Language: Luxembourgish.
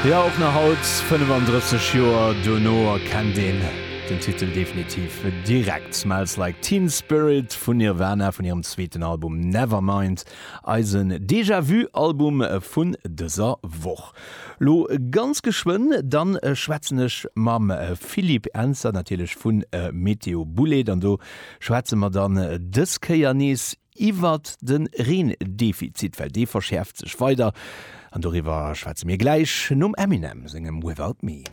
Jo, och nach haut, 35 Joer dono, erkennt een den Titel definitiv direkt. Smells Like Teen Spirit vun Nirvana vun hirem zweeten Album Nevermind, eisen Déjà Vu Album vun dëser Woch. Lo ganz geschwënn dann schwätzen ech mam Philippe Ernzer natierlech vu Météo Boulaide an do schwätze mer dann dës Kéier nees Iwwert de Reendefizit, well dee verschäerft sech weider. An doriwwer schwätze mir gläich nom Eminem sengem Without Me.